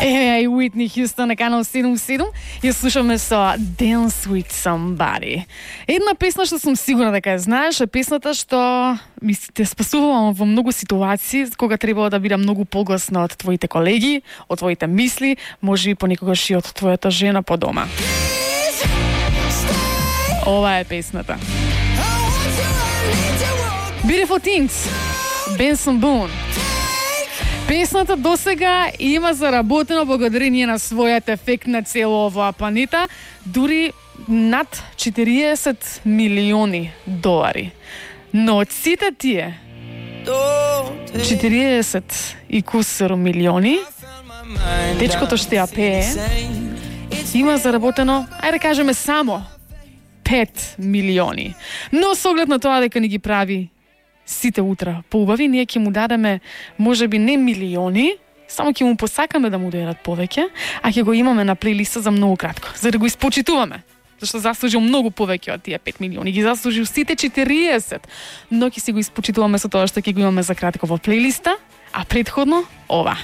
Е, Уитни Хјустон на канал 77. Ја слушаме со Dance with Somebody. Една песна што сум сигурна дека ја знаеш, е песната што ми те спасувала во многу ситуации кога требало да бидам многу погласна од твоите колеги, од твоите мисли, може и понекогаш и од твојата жена по дома. Ова е песната. Beautiful Things, Benson Boone. Песната досега има заработено благодарение на својот ефект на цело оваа планета, дури над 40 милиони долари. Но од сите тие 40 и кусур милиони, дечкото што ја пее има заработено, ајде кажеме само 5 милиони. Но со оглед на тоа дека ни ги прави сите утра поубави, ние ќе му дадеме можеби не милиони, само ќе му посакаме да му дојдат повеќе, а ќе го имаме на плейлиста за многу кратко, за да го испочитуваме. Зашто заслужил многу повеќе од тие 5 милиони, ги заслужил сите 40, но ќе си го испочитуваме со тоа што ќе го имаме за кратко во плейлиста, а претходно ова.